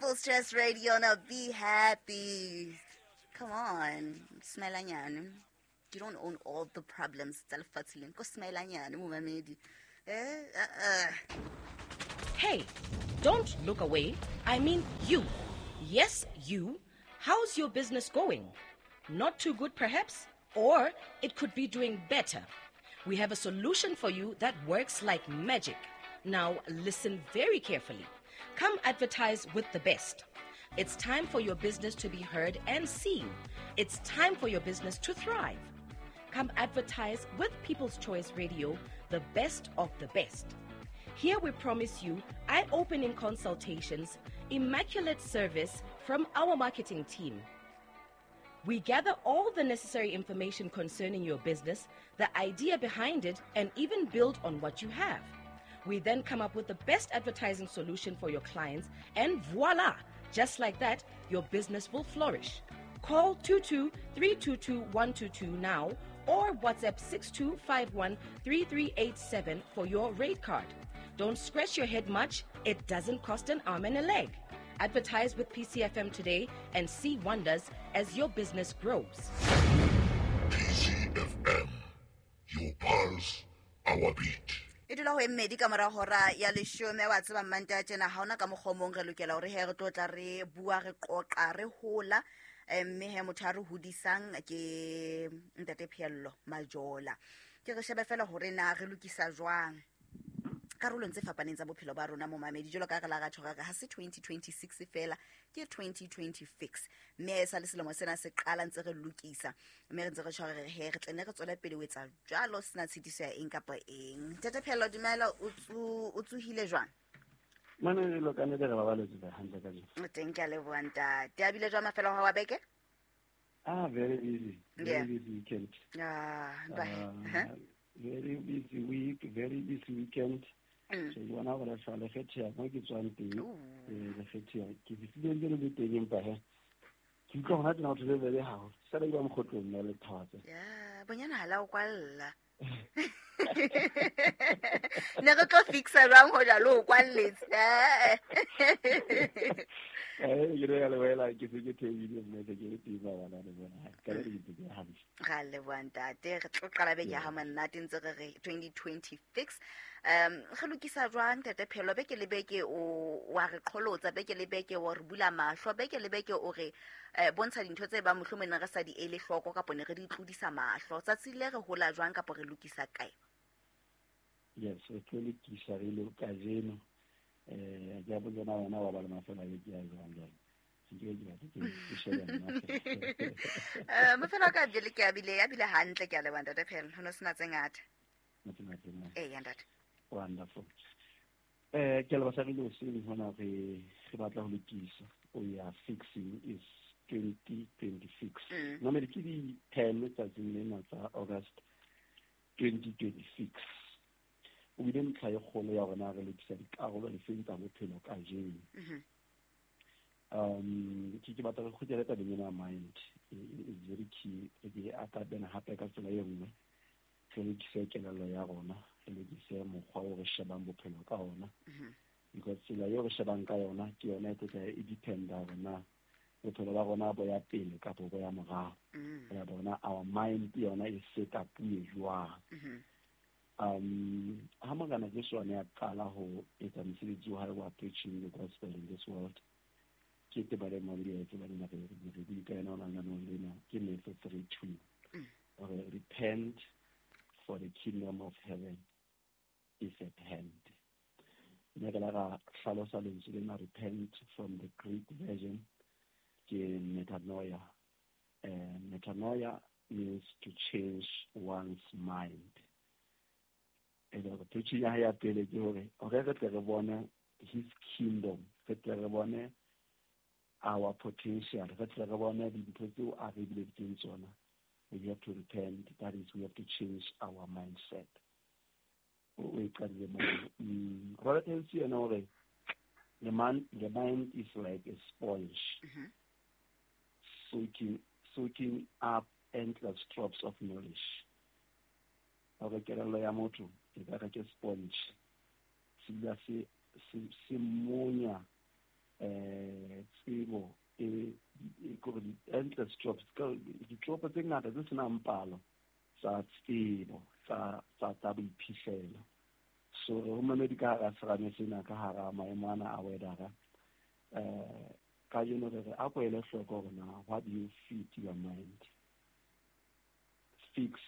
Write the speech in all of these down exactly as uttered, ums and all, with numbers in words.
People's Choice Radio. Now be happy. Come on, smile. You don't own all the problems. Tsa lefatshe lena. Ko smile nyane, momamedi. Eh, uh, uh. Hey, don't look away. I mean you. Yes, you. How's your business going? Not too good, perhaps? Or it could be doing better. We have a solution for you that works like magic. Now, listen very carefully. Come advertise with the best. It's time for your business to be heard and seen. It's time for your business to thrive. Come advertise with People's Choice Radio, the best of the best. Here we promise you eye-opening consultations, immaculate service from our marketing team. We gather all the necessary information concerning your business, the idea behind it, and even build on what you have. We then come up with the best advertising solution for your clients, and voila! Just like that, your business will flourish. Call two two three two two one two two now or WhatsApp six two five one three three eight seven for your rate card. Don't scratch your head much. It doesn't cost an arm and a leg. Advertise with P C F M today and see wonders as your business grows. P C F M, your pulse, our beat. E dula ho mmedi ka mora hora ya leshome wa tseba mmante tjena ha ona ka mokgomong re lokela hore he re tlo tla re bua re qoqa re hola mme he motho a re hodisang ke ntate Pheello Majola. Ke re shebe fela hore na re lokisa jwang karolong tse fapaneng tsa bophelo ba rona momamedi jalo ka re la ra tjho ha se twenty twenty-six fela ke twenty twenty-six mme sa le selemo sena se qala ntse re lokisa mme re ntse re tjho re he re tlene re tswela pele ho etsa jwalo sena tshitiso ya eng kapa eng. Ntate Pheello dumela, o tsu o tsuhile jwang? Mane le lokane re ba baletse hantle ka jeno. Teng ke a leboha ntate. A bile jwang mafelo a wa beke? Ah, very busy. Very yeah. busy weekend. Ah, bye. Uh, huh? Very busy week, very busy weekend. Mm. So you wanna go to le kgethe mo ke tswang teng eh le kgethe ke fihlile le le teng empa he ke utlwa hona tena ho le le hao sala ba mokgotlong le thatse ya bonyana hala o kwalla ne re tlo fixa jwang ho jalo o kwalletse eh ke re le wela ke se ke thebile mme ke le teng ba bana le bona ka le ke ke hantle ga le bua ntate re tlo qala beke ya ha monate ntse re re twenty twenty-six um re lokisa jwang ntate Pheello beke le beke o wa re qholotsa beke le beke o re bula mahlo beke le beke o re bontsha dintho tse ba mohlomong re sa di ele hloko kapa ne re di tlodisa mahlo tsatsi le re hola jwang kapa re lokisa kae? Yes, re tlo lokisa re le kajeno eh ke a bona wena wa ba le mafelo a beke ya jwang jwang ke ke ke ke shebe nna eh mafelo a ka bile ke a bile ya bile hantle ke a leboha ntate Pheello ho no sena tse ngata eh ya ntate. Wonderful. Eh ke le basadi le seng hona re re batla ho lokisa. We are fixing is twenty twenty-six. Mm. Normally ke di ten tsatsing lena tsa August twenty twenty-six. O bile ntlha e kgolo ya rona re lokisa dikarolo le seng tsa bophelo kajeno. Mhm. Um ke ke batla re kgutlele tabeng ena mind is very key re ke atabena hape ka tsela e nngwe re lokise kelello ya rona re lokise mokgwa o re shebang bophelo ka ona because tsela eo re shebang ka yona ke yona e tlo e dependa hore na bophelo ba rona bo ya pele kapa bo ya morao. Re bona our mind yona e set up e jwang. Um ha Morena Jesu a ne a qala ho etsa mosebetsi wa hae wa preaching the gospel in this world ke tebale mabedi a tseba lena re re bue ka yona lenaneong lena ke Matthew three two hore repent for the kingdom of heaven is at hand. Mme re la ra hlalosa lentswe lena repent from the Greek version ke metanoia. Uh, metanoia means to change one's mind. E le hore preaching ya hae ya pele ke hore hore re tle re bone his kingdom, re tle re bone our potential, re tle re bone dintho tseo a re bileditseng tsona. We have to repent, that is, we have to change our mindset. O e qadile moo. Robert Hensey yena o re the man, the mind is like a sponge, mm-hmm. soaking, soaking up endless drops of knowledge. Hore kelello ya motho e ka re ke sponge, se dula se se monya eh tsebo e kore di-endless jobs ditjopo tse ngata tse senang palo tsa tsebo tsa tsa tsa boiphihlelo. So re mamedi ka hara serame sena ka hara maemo ana a weather eh kajeno re re a ko ele hloko hore na what do you feed your mind. Fix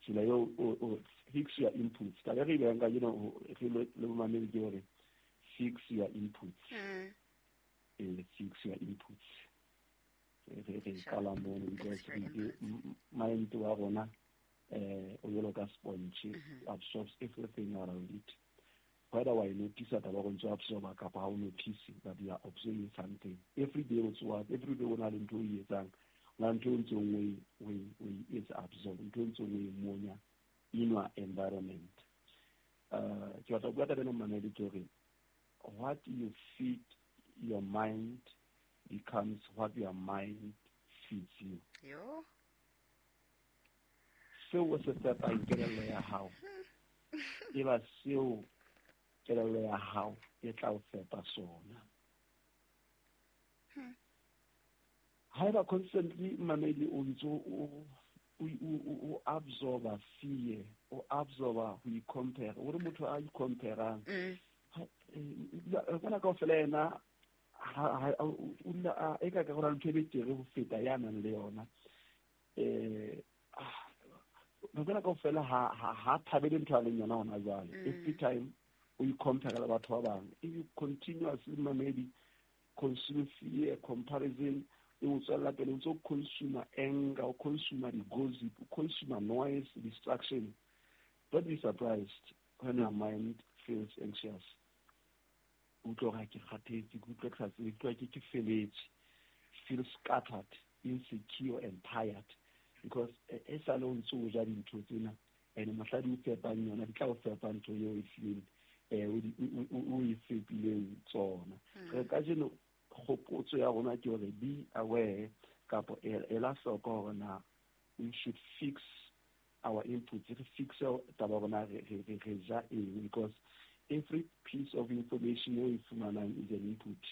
tsela eo o fix your inputs. Ka re bang kajeno re le mamedi ke hore fix your inputs. Mm. Eh, fix your inputs. Re re qala mono because mind wa rona eh o jwalo ka sponge, absorbs everything around it. Whether wa notice taba go ntse absorba kapa ha o notice that you are absorbing something. Every day o tsoa, every day o na le ntho o e etsang, o na le ntho o ntseng o e o e etsa absorb, ntho o ntseng o e monya in your environment. Uh ke batla ho bua taba ena mamedi ke hore what you feed your mind becomes what your mind feeds you. Yo. Seo o se fepang kelello ya hao e ba seo kelello ya hao e tla o fepa sona. Haeba constantly mamedi o ntso o o absorba fear, o absorba ho i-compare, o re motho a i-comparang kana kaofela yena o dula e ka ka go na le ntho e betere ho feta ya nang le yona. Eh kana kaofela ha ha thabele ntho a leng yona hona jwale. Every time o i-compare le batho ba bang, if you continuously mamedi consume fear, comparison, e o tswella pele o ntso consume anger, o consume di-gossip, o consume noise, distraction. Don't be surprised when your mind feels anxious. O utlwa hore ke kgathetse, ke utlwa ke sa tsebe, ke utlwa ke ke feletse, feel scattered, insecure and tired because e sale o ntso o ja dintho tsena and mohla di o fepang yona di tla o fepa ntho eo e fileng eh o e fepileng tsona. Re kajeno kgopotso ya rona ke hore be aware kapa ela hloko hore na we should fix our inputs, re fix taba rona re re re ja eng, because every piece of information eo e fumanang is an input.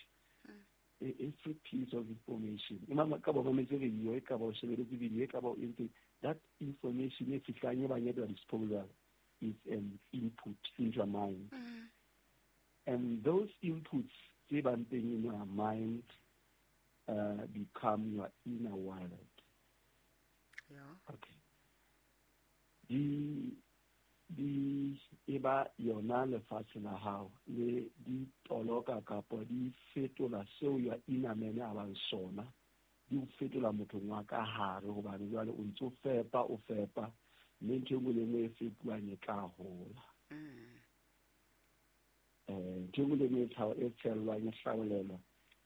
Every piece of information e ka ba mametse radio, e ka ba o shebeletse video, e ka ba o entse, that information e fihlang e bang at your disposal is an input into your mind. Mm. And those inputs tse bang teng in your mind uh, become your inner world. Yeah. Okay. Di di e ba yona lefatshe la hao le di toloka kapa di fetola seo your inner man a bang sona, di o fetola mothong wa ka hare hobane jwale o ntso fepa o fepa mme ntho e nngwe le nngwe e fepuwang e tla hola. Eh ntho e nngwe le nngwe e tshellwang e hlaolelwa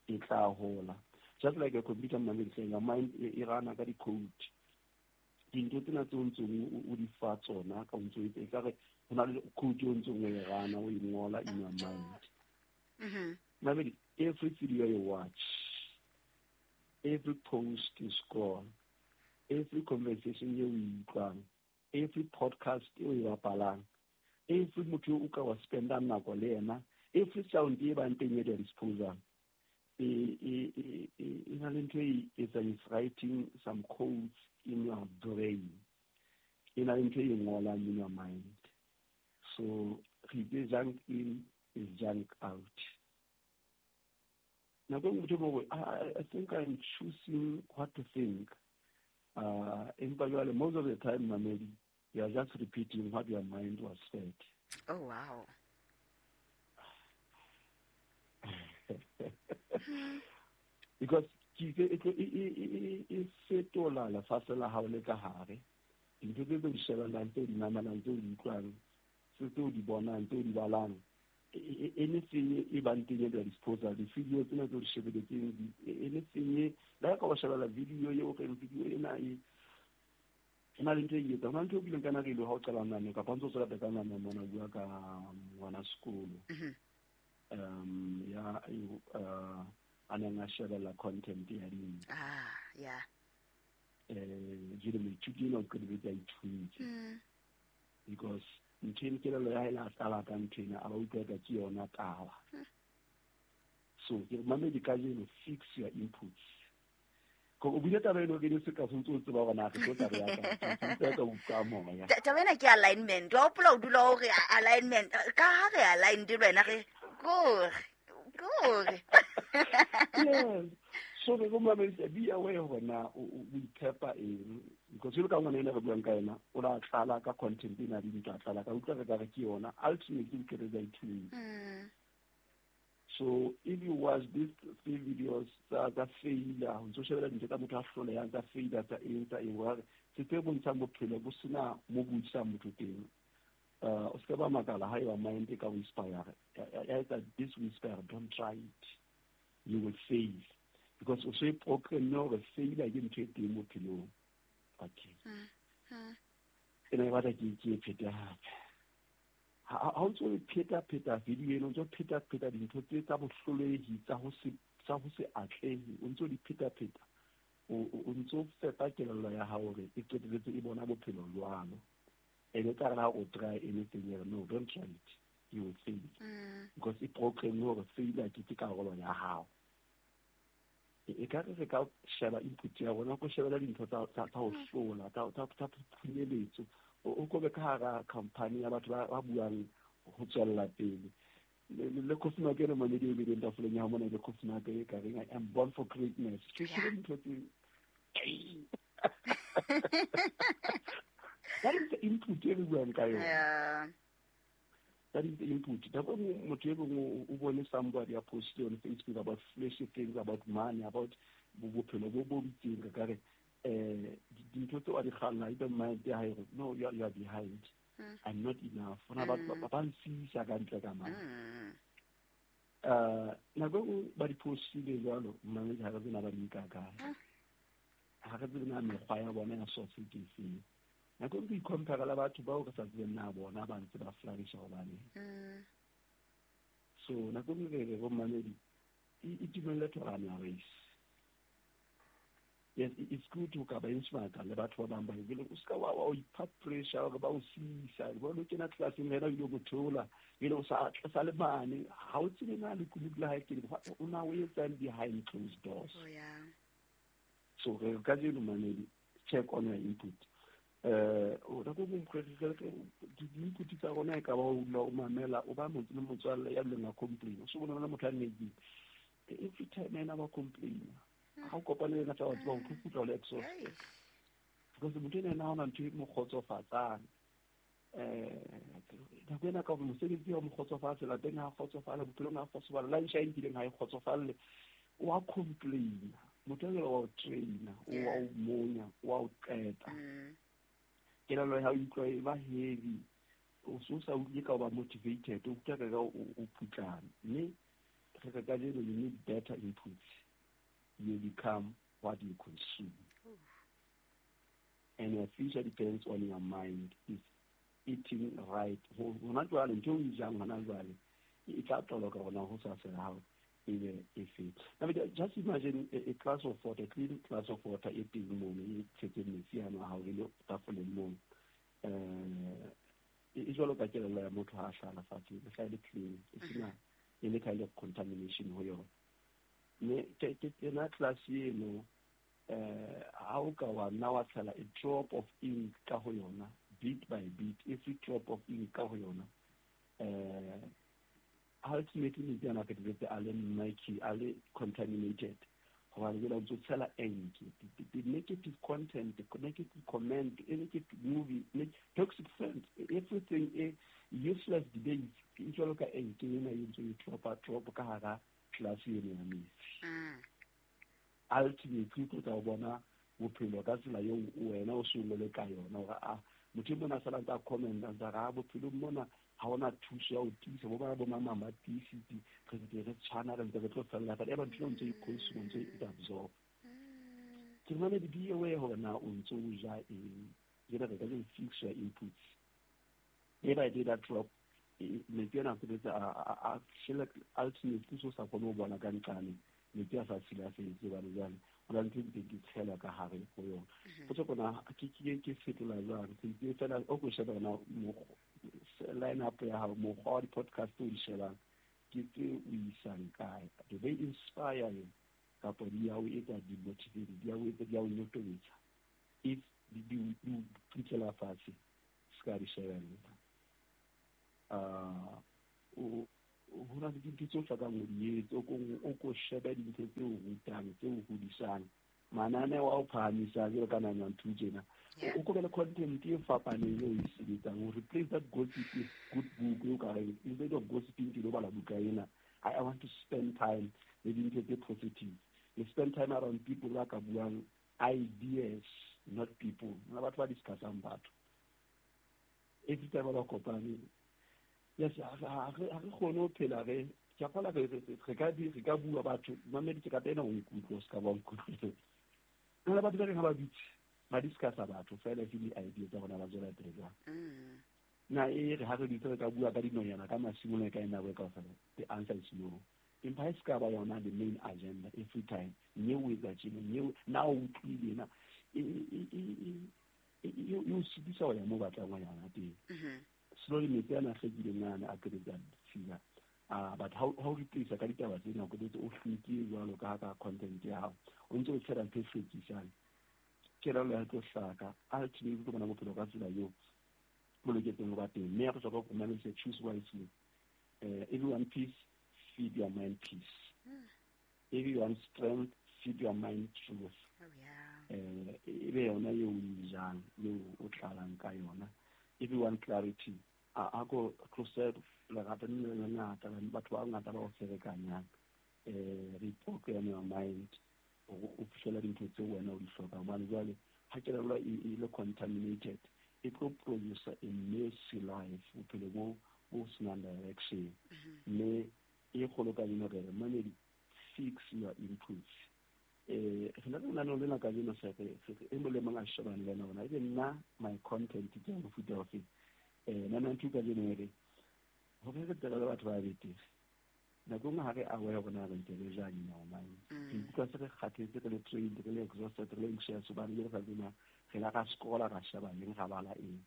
e tla hola. Just like a computer mamedi, your mind e rana ka di-code. Dintho tsena tse o ntseng o di fa tsona ka o ntso e ekare ho na le code o ntseng o e rana o e ngola in your mind. Mm-hmm. Mamedi, every video you watch, every post you scroll, every conversation you utlwang, every podcast eo e bapalang, every motho o ka wa spendang nako le yena, every sound e bang teng at your disposal, e e e e na le ntho e etsang, is writing some codes in your brain, e na le ntho e ngolang in your mind. So re itse junk in is junk out. Nako e nngwe motho o I, I think I'm choosing what to think. Uh, empa jwale most of the time mamedi, you are just repeating what your mind was fed. Oh wow. Because ke e e fetola lefatshe la hao le ka hare. Dintho tse di shebellang, tse di mamelang, tse di utlwang, tse di bonang, tse di balang, anything e bang teng at your disposal, di-video tsena tse o di shebeletseng, anything le ha ka o shebella video eo reng video ena e e na le ntho e etsang. Ho na le ntho e bileng kana re ile ha o qala nane kapa o ntso tswela pele ka nane mona bua ka ngwana sekolo. Um ya uh a neng a shebella content ya dintho. Ah, yeah. Eh jwale moithuti enwa o qetelletse a ithuntse. Because ntho eno kelello ya hae la qala ka ntho ena, a ba utlwa ka ke yona taba. So ke mamedi kajeno, fix your inputs. Ko o buile taba eno ke ne se ka se ntse o tseba hore na re tlo tla re ya kae. Ke ka utlwa moya. Taba ena ke alignment. Wa hopola o dula o re alignment. Ka ha re aligned le wena re kore. Kore. Yes. So re go mamedi be aware hore na o iphepa eng. Because jwalo ka ngwana ena re buang ka yena, o la tlala ka content ena le dintho a tlala ka utlwa re ka re ke yona ultimately ke re tsa ithuta. So if you watch these three videos tsa tsa failure, o ntso shebella dintho tsa motho a hlolehang tsa failure tsa eng tsa eng, wa se tse bontshang bophelo bo sena mo bo isang motho teng. Uh, o ska ba makala ha eba mind e ka o inspire. Ya etsa this whisper, don't try it. You will fail. Because o se program hore failure ke ntho e teng bophelong. Okay. Ena e batla ke ke e phete hape. Ha o ntso pheta pheta video eno, o ntso pheta pheta dintho tse tsa bohlolehi tsa ho se tsa ho se atlehe, o ntso di pheta pheta. O o ntso fepa kelello ya hao hore e qetelletse e bona bophelo jwalo. Ene tla re ha o try anything, no, don't try it. You will fail. Because e program hore failure ke ke karolo ya hao. E ka re re ka sheba input ya rona, ko shebela dintho tsa tsa ho hlola, tsa tsa tsa phunyeletso. O ko be ka hara company ya batho ba buang ho tswella pele. Le coffee maker e mamedi e bileng tafoleng ya hao mona, le coffee maker e ka reng I am born for greatness. Ke shebe dintho tse. That is the input e re buang ka yona. Yeah. That is the input. Nako e motho e mongwe o bone somebody a postile on Facebook about flashy things, about money, about bophelo bo bo itseng, ka re eh dintho tseo a di kganna, e don't mind ya hae, no, you are, you are behind. Mm. I'm not enough. Hona ba Mm. ba nsisa ka ntle ka mane. Mm. Uh nako e nngwe ba di postile jwalo, mmamedi ha re tsebe na ba di nka kae. Mm. Ha re tsebe na mekgwa ya bona ya source ke efeng. Nako e nngwe re icompare le batho bao re sa tsebeng na bona ba ntse ba flourisha hobaneng. Mm. So nako e nngwe re re bo mmamedi, e itumelle to run your race. Yes, it's good to ka benchmark le batho ba bang ba ebile o ska wa wa ipha pressure hore ba o sisa, ba lo kena classeng wena o ile go theola, ebile o sa sa le mane, ha o tsebe na lekunutu la hae ke o na o etsang behind closed doors. Oh yeah. So re kajeno mamedi, check on your input. Eh o nako e nngwe re re di-input tsa rona e ka ba o dula o mamela, o ba motho le motswalle ya leng a complain. O se bona motho a negative. Every time ena ba complain. Ha o kopane le yena tsa batho ba o kgutla le exhaust. Because motho ena ha ona ntho e mo kgotsofatsang. Eh nako ena ka mosebetsi wa mo kgotsofatse, lapeng ha kgotsofala, bophelong ha kgotsofala, lunch a nkileng ha e kgotsofalle, wa complain. Motho ena wa o traina, o wa o monya, wa o qeta. Kelello ya hao e utlwa e ba heavy. O so sa utlwe ka o ba motivated, o utlwa ka o putlana. Mme re re kajeno you need better inputs. You become what you consume. And your future depends on your mind. Is eating right. Hona jwale ntho e jang hona jwale e tla toloka hona ho sa sela hao e be e fe. Now just imagine a, a glass of water, a clean glass of water e teng mono, e tshetse metsi ano a hao e le tafoleng mono. Eh e jwalo ka kelello ya motho ha a hlala fatshe, e hla e le clean, e sena any kind of contamination ho yona. Mme ke ke yona class eno eh ha o ka wa nna wa tshela a drop of ink ka ho yona, bit by bit, every drop of ink ka ho yona, eh ultimately metsi ana a qetelletse a le murky, a le contaminated. Hobane jwale o ntso tshela ink, the negative content, the negative comment, the negative movie, toxic friends, everything, e useless debates, e jwalo ka ink ena e ntso e dropa drop ka hara class eno ya metsi. Ultimately o tla bona bophelo ka tsela eo wena o sengole ka yona, hore a motho e mona a sala ntse a comment, a ntse a re, ah, bophelong mona ha hona thuso ya ho tiisa, bo bana bo mama ba tiisitse, re ntse re tshwana, re ntse re tlo fella fela. Eba ntho eo ntse e consume, ntse e absorb. Ke mamedi be aware hore na o ntso o ja eng. Jwale re ka re fix your inputs. Day by day that drop, metsi ana a sebetsa a shela ultimately so sa kgone ho bona ka nqane, metsi a sa silafetse hobane jwale ho na le ntho e di tshela ka hare ho yona. Potso kona ke ke ke fetola jwang? Ke fela o ko sheba na line up ya hao, mokgwa wa di-podcast o di shebang, Ke tse o isang kae? Do they inspire you? Kapa di ya o etsa di-motivate, di ya o etsa, di ya o nyotobetsa? If di di di o putlela fatshe, se ka di shebella. Uh, o ho na le dintho tse o hlokang ho di etsa, o ko o ko shebe dintho tse o rutang, tse o hodisang. Mananeo a o phahamisang jwalo ka nine one two tjena. Yeah. O ko be le content e fapaneng eo o e sebetsang, o replace that gossip with good book eo ka reng, instead of gossiping ke lo bala buka ena. I, I want to spend time le dintho tse positive. You spend time around people ba ka buang ideas, not people. Hona batho ba discussang batho. Every time ba kopane, yes, ha re ha re kgone ho phela re, ke a kgolwa re, re, re ka di, re ka bua batho, mamedi ke rata ena o nkutlwe, o se ka ba nkutlwe. Hona batho ba reng ha ba dutse, ba discussa batho fela ke di-idea tsa bona ba tswela pele jwang. Mm. Na e re ha re dutse re ka bua ka dinonyana ka masimo le ka ena nako e kaofela, the answer is no. Empa ha e se ka ba yona the main agenda every time. Mme o etsa tjena, mme o, na o utlwile na, e, e, e, e, e, e, e o sitisa ho ya moo o batlang ho yana teng. Mm-hmm. Slowly metsi ana a hlwekileng ana a qetetse a ditshila. Ah, but ha o replace ka ditaba tsena, o qetetse o hlwekile jwalo ka ha ka content ya hao. O ntse o tshela ntho e hlwekisang. Kelello ya tlo hlaka. Ultimately, o tlo bona bophelo ka tsela eo bo loketseng ho ba teng. Mme ya bohlokwa ho mamedisa, choose wisely. Eh, everyone peace, feed your mind peace. Mm. Everyone strength, feed your mind truth. Oh, yeah. Eh, e be yona eo o e jang, eo o tlalang ka yona. Everyone clarity. A, a ko tlose lerato le le lengata, batho ba bangata ba o ferekanyang. Eh, reprogram your mind hore o fihlele dintho tseo wena o di hlokang. Hobane jwale ha kelello e, e le contaminated, e tlo produce a messy life, bophelo bo, bo senang direction. Mm-hmm. Mme e kgolo ka eno re re, mamedi, fix your inputs. Eh, re na le lenaneo lena kajeno se re, se re, e mong le mong a shebane le yena hore na ebe nna my content ke ya mofuta ofe. Eh, nine one two kajeno e re, hore re tle re le batho ba betere. Nako e nngwe ha re aware hore na re ntse re jang in our mind. Mm. Re ikutlwa se re kgathetse, re le drained, re le exhausted, re le anxious, hobane jwale ka tsena re la ra scrolla, ra sheba eng, ra bala eng.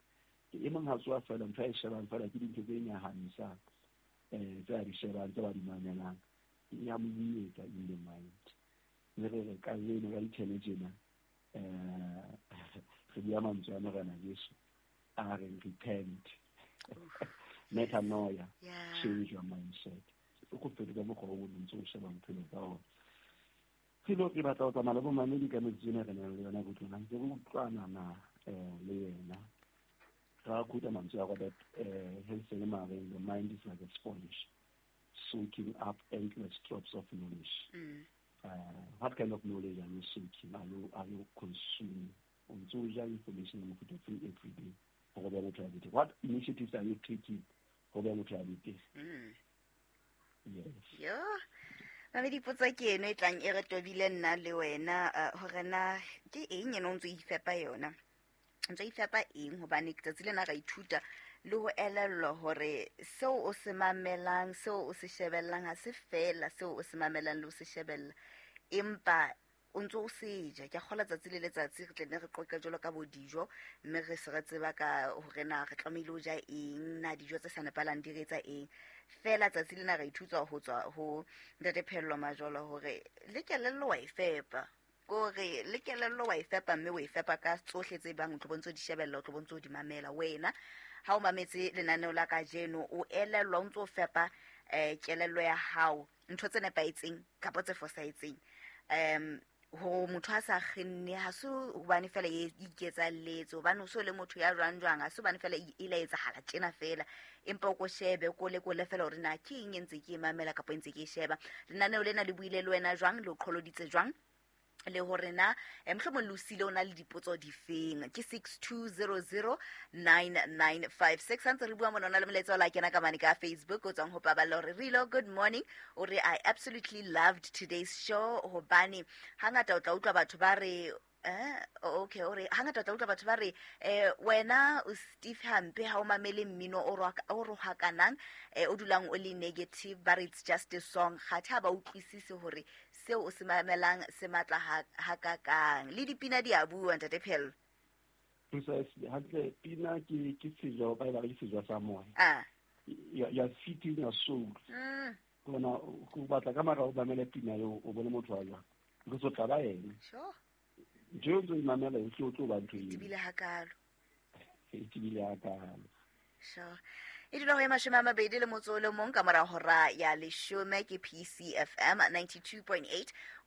E mong ha tsoha feela, ntho a e shebang feela ke dintho tse nyahamisang, eh, tse a di shebang, tse ba di mamelang. E ya mo imetsa in the mind. Mme re re kajeno ka di-ten tjena, eh, re bua mantswe a Morena Jesu, a reng repent. Metanoia, Yeah. change your mindset. O ko fetola mokgwa o ntse o sheba bophelo ka ona. Re lo re batla ho tsamaya le bomamedi ka metsotso ena re nang le yona botlona, ntse re utlwana na, eh, le yena. Ra quote mantswe a Robert, eh, Hansen Mareng, the mind is like a sponge, soaking up endless drops of knowledge. Mm. Uh, what kind of knowledge are you soaking? Are you, are you consuming? O ntse o ja information ya mofuta ofe every day hore o be motho ya betere. What initiatives are you taking hore o be motho ya betere? Mm. Yes. Yo. Mamedi, potso ke eno e tlang e re tobile nna le wena, eh, hore na ke eng eno o ntso o ifepa yona? O ntso o ifepa eng? Hobane tsatsi lena ra ithuta le ho elellwa hore seo o se mamelang, seo o se shebellang ha se feela seo o se mamelang le ho se shebella, empa o ntso o se ja. Ke a kgolwa tsatsi le letsatsi re tle nne re qoqe jwalo ka bo dijo, mme re se re tseba ka hore na re tlamehile ho ja eng, na dijo tse sa nepahalang di re etsa eng. Feela tsatsi lena re ithuta ho tswa ho Ntate Phehello Majolo hore le kelello wa e fepa. Kore le kelello wa e fepa, mme o e fepa ka tsohle tse bang o tlo bontse o di shebella, o tlo bontse o di mamela. Wena ha o mametse lenaneo la kajeno, o elellwa o ntso o fepa, eh, kelello ya hao ntho tse nepahetseng kapa tse fosahetseng. Em, hore motho a sa kgenne, ha se hobane feela e iketsalletse, hobane o so le motho ya jwang jwang, ha se hobane feela e ile etsahala tjena feela, empa o ko shebe, o ko lekole feela hore na ke eng e ntse ke e mamela kapa e ntse ke e sheba. Lenaneo lena le buile le wena jwang, le o qholoditse jwang, le hore na, eh, mohlomong le o siile o na le dipotso difeng. Ke six two zero zero nine nine five six. Ha ntse re bua mona, o na le molaetsa o la kena ka mane ka Facebook o tswang ho Paballo, hore Rilo, good morning. O re, I absolutely loved today's show, hobane hangata o tla utlwa batho ba re, eh, okay, o re hangata o tla utlwa batho ba re, eh, wena o Steve hampe ha o mamele mmino o roka-, o rohakanang, eh, o dulang o le negative, ba re it's just a song. Kgathe ha ba utlwisise hore seo o se mamelang se matla ha, hakakang. Le dipina di a bua, Ntate Phehello. Precisely. Hantle, pina ke, ke sejo, ba e ba re ke sejo sa moya. Ah. You, you are feeding your soul. Mm. Ke bona o batla ka mara o mamele pina eo, o bone motho wa jwang, because o tla ba yena. Sure ntho eo ntse o imamela e o tlo ba ntho eo. Tebile hakalo. E tebile hakalo. Sure. E dula ho e mashome a mabedi le motso o le mong ka mora hora ya leshome, ke P C F M ninety-two point eight.